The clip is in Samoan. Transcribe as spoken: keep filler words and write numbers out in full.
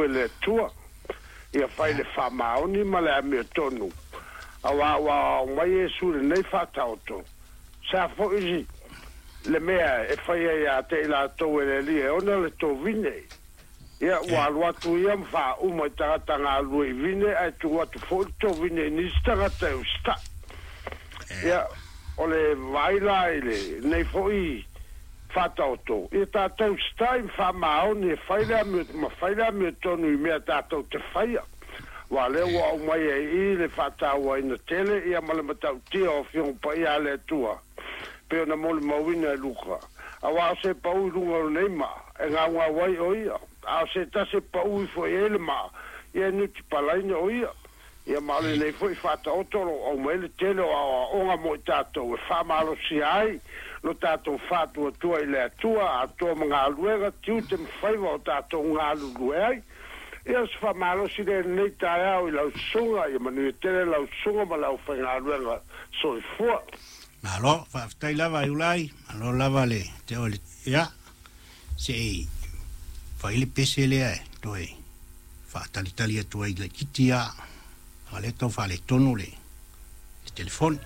E le Atua ia fai le faamaoni ma le amiotonu, auā ua aumai Iesu i lenei faataoto. Sa foi le mea e faia ia te i latou e le Alii e ona le tovine. Ia ua alu atu ia ma faauma i tagata galulue i vine, ae tuu atu foi le tovine i nisi tagata e usitai. Ia o le vaai la i lenei foi faataoto, ia tatou usitai ma faamaoni e fai le amio, ma fai le amiotonu i mea tatou te faia. Aua o lea ua aumaia i i le faatauaina tele ia ma le matautia o Afioga Paia a le Atua, pei ona molimauina e Luka. Aua o se pau i luga o lenei maa, e gaugau ai o ia, a o se tasi e pau ifo i ai le maa, ia e nutipalaina o ia. Ia ma o lenei foi faataoto o lo o aumai le tele o aoaoga mo i tatou e faamalosia ai lo tatou faatuatua i le Atua, atoa ma galuega, tiute ma faiva o tatou galulue ai. Ia o se faamalosi lea i lenei taeao i lau susuga, ia manuia tele lau susuga ma le aufaigaluega. Soifua. Malo, faafetai lava Iulai, malo lava le te o le ia se i fai le pese lea e toe faatalitali atu ai laitiiti a, a lea tau faaletonu le, le telefoni.